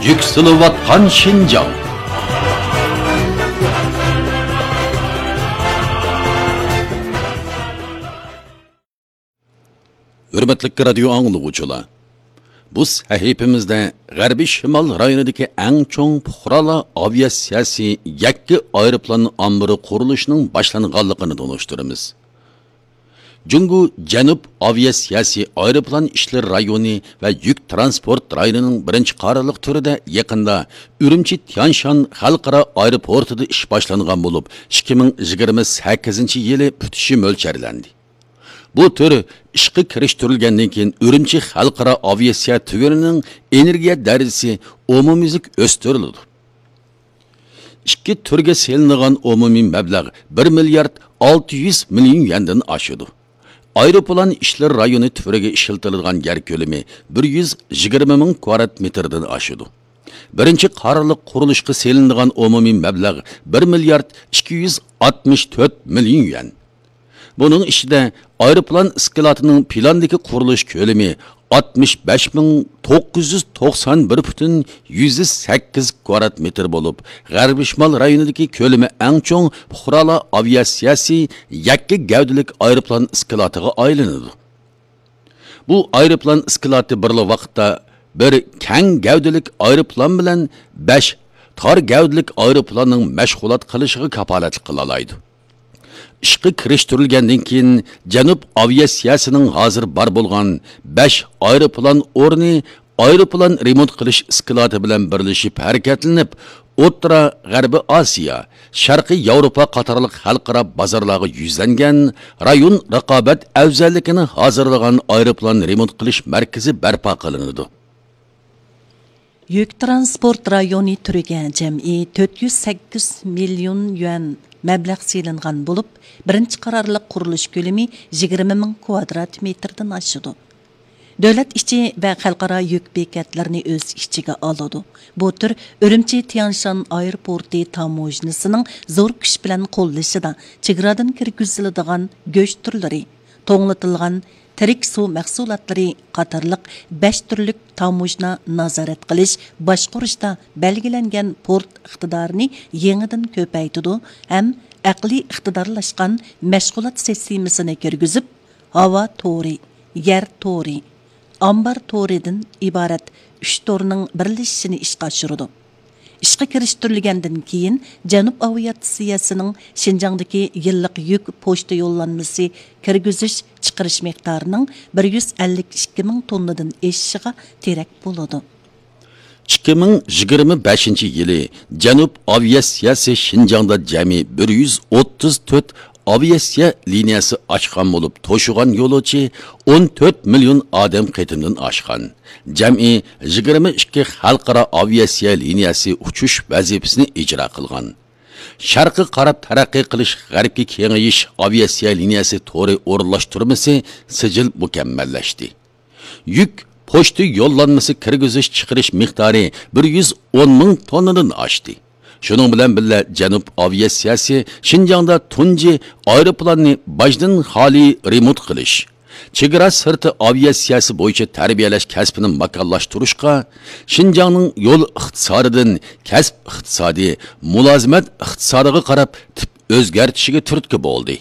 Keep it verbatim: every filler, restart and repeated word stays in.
يۈكسىلىۋاتقان شىنجاڭ. ھۆرمەتلىك رادىيو ئاڭلىغۇچىلار، بۇ سەھىپىمىزدە غەربىي شىمال رايونىدىكى ئەڭ چوڭ پۇقرالار ئاۋىئاتسىيەسى يەككە ئايروپىلان ئامبىرى قۇرۇلۇشىنىڭ باشلانغانلىقىنى تونۇشتۇرىمىز. جۇڭگو جەنۇب ئاۋىئاتسىيەسى ئايروپىلان ئىشلىرى رايونى ۋە يۈك تىرانسپورت رايونىنىڭ بىرىنچى قارارلىق تۈرىدە يېقىندا ئۈرۈمچى تيانشان خەلقئارا ئايروپورتىدا ئىش باشلانغان بولۇپ، ئىككى مىڭ يىگىرمە سەككىزىنچى يىلى پۈتۈشى مۆلچەرلەندى. بۇ تۈر ئىشقا كىرىشتۈرۈلگەندىن كېيىن، ئۈرۈمچى خەلقئارا ئاۋىئاتسىيە تۈگۈنىنىڭ ئېنېرگىيە دەرىجىسى ئومۇميۈزلۈك ئۆستۈرۈلىدۇ. ئىككى تۈرگە سېلىنىدىغان ئومۇمىي مەبلەغ بىر مىليارد ئالتە يۈز مىليون يۈەندىن ئاشىدۇ. ئايروپىلان ئىشلىرى رايونى تۈرىگە ئىشلىتىلىدىغان يەر كۆلىمى بىر يۈز يىگىرمە مىڭ كۋادرات مېتىردىن ئاشىدۇ. بىرىنچى قارارلىق قۇرۇلۇشقا سېلىنىدىغان ئومۇمىي مەبلەغ بىر مىليارد ئىككى يۈز ئاتمىش تۆت مىليون يۈەن. بۇنىڭ ئىچىدە ئايروپىلان ئىسكىلاتىنىڭ پىلاندىكى قۇرۇلۇش كۆلىمى ئاتمىش بەش مىڭ توققۇز يۈز توقسان بىر پۈتۈن يۈزدە سەككىز كۋادرات مېتىر بولۇپ، غەربىي شىمال رايونىدىكى كۆلىمى ئەڭ چوڭ پۇقرالار ئاۋىئاتسىيەسى يەككە گەۋدىلىك ئايروپىلان ئىسكىلاتىغا ئايلىنىدۇ. بۇ ئايروپىلان ئىسكىلاتى بىرلا ۋاقىتتا بىر كەڭ گەۋدىلىك ئايروپىلان بىلەن بەش تار گەۋدىلىك ئايروپىلاننىڭ مەشغۇلات قىلىشىغا كاپالەتلىك قىلالايدۇ. ئىشقا كىرىشتۈرۈلگەندىن كېيىن، جەنۇب ئاۋىئاتسىيەسىنىڭ ھازىر بار بولغان بەش ئايروپىلان ئورنى ئايروپىلان رېمونت قىلىش ئىسكىلاتى بىلەن بىرلىشىپ ھەرىكەتلىنىپ، ئوتتۇرا غەربىي ئاسىيا، شەرقىي ياۋروپا قاتارلىق خەلقئارا بازارلارغا يۈزلەنگەن رايون رىقابەت ئەۋزەللىكىنى ھازىرلىغان ئايروپىلان رېمونت قىلىش مەركىزى بەرپا قىلىنىدۇ. يۈك تىرانسپورت رايونى تۈرىگە جەمئىي تۆت يۈز سەككىز مىليون يۈەن مەبلەغ سېلىنغان بولۇپ، بىرىنچى قارارلىق قۇرۇلۇش كۆلىمى يىگىرمە مىڭ كۋادرات مېتىردىن ئاشىدۇ. دۆلەت ئىچى ۋە خەلقئارا يۈك بېكەتلىرىنى ئۆز ئىچىگە ئالىدۇ. بۇ تۈر ئۈرۈمچى تيانشان ئايروپورتى تاموژنىسىنىڭ زور كۈچ بىلەن قوللىشىدا چېگرادىن كىرگۈزۈلىدىغان گۆش تۈرلىرى، توڭلىتىلغان تىرىك سۇ مەھسۇلاتلىرى قاتارلىق بەش تۈرلۈك تاموژنا نازارەت قىلىش، باشقۇرۇشتا بەلگىلەنگەن پورت ئىقتىدارىنى يېڭىدىن كۆپەيتىدۇ ھەم ئەقلىي ئىقتىدارلاشقان مەشغۇلات سىستېمىسىنى كىرگۈزۈپ، ھاۋا تورى، يەر تورى، ئامبار تورىدىن ئىبارەت ئۈچ تورنىڭ بىرلىشىشىنى ئىشقا ئاشۇرىدۇ. ئىشقا كىرىشتۈرۈلگەندىن كېيىن، جەنۇب ئاۋىئاتسىيەسىنىڭ شىنجاڭدىكى يىللىق يۈك پوچتا يوللانمىسى كىرگۈزۈش چىقىرىش مىقدارىنىڭ بىر يۈز ئەللىك ئىككى مىڭ توننىدىن ئېشىشىغا تىرەك بولىدۇ. ئىككى مىڭ يىگىرمە بەشىنچى يىلى جەنۇب ئاۋىئاتسىيەسى شىنجاڭدا جەمئىي بىر يۈز ئوتتۇز تۆت ئاۋىئاتسىيە لىنىيەسى ئاچقان بولۇپ، توشۇغان يولۇچى ئون تۆت مىليون ئادەم قېتىمدىن ئاشقان. جەمئىي يىگىرمە ئىككى خەلقئارا ئاۋىئاتسىيە لىنىيەسى ئۇچۇش ۋەزىپىسىنى ئىجرا قىلغان. شەرققە قاراپ تەرەققىي قىلىش، غەربكە كېڭىيىش ئاۋىئاتسىيە لىنىيەسى تورى ئورۇنلاشتۇرمىسى سىجىل مۇكەممەللەشتى. يۈك پوچتا يوللانمىسى كىرگۈزۈش چىقىرىش مىقدارى بىر يۈز ئون مىڭ توننىدىن ئاشتى. شۇنىڭ بىلەن بىللە، جەنۇب ئاۋىئاتسىيەسى شىنجاڭدا تۇنجى ئايروپىلاننى باجدىن خالىي رېمونت قىلىش، چېگرا سىرتى ئاۋىئاتسىيەسى بويىچە تەربىيەلەش كەسپىنى ماكانلاشتۇرۇشقا، شىنجاڭنىڭ يول ئىقتىسادىدىن كەسىپ ئىقتىسادى، مۇلازىمەت ئىقتىسادىغا قاراپ تىپ ئۆزگەرتىشىگە تۈرتكە بولدى.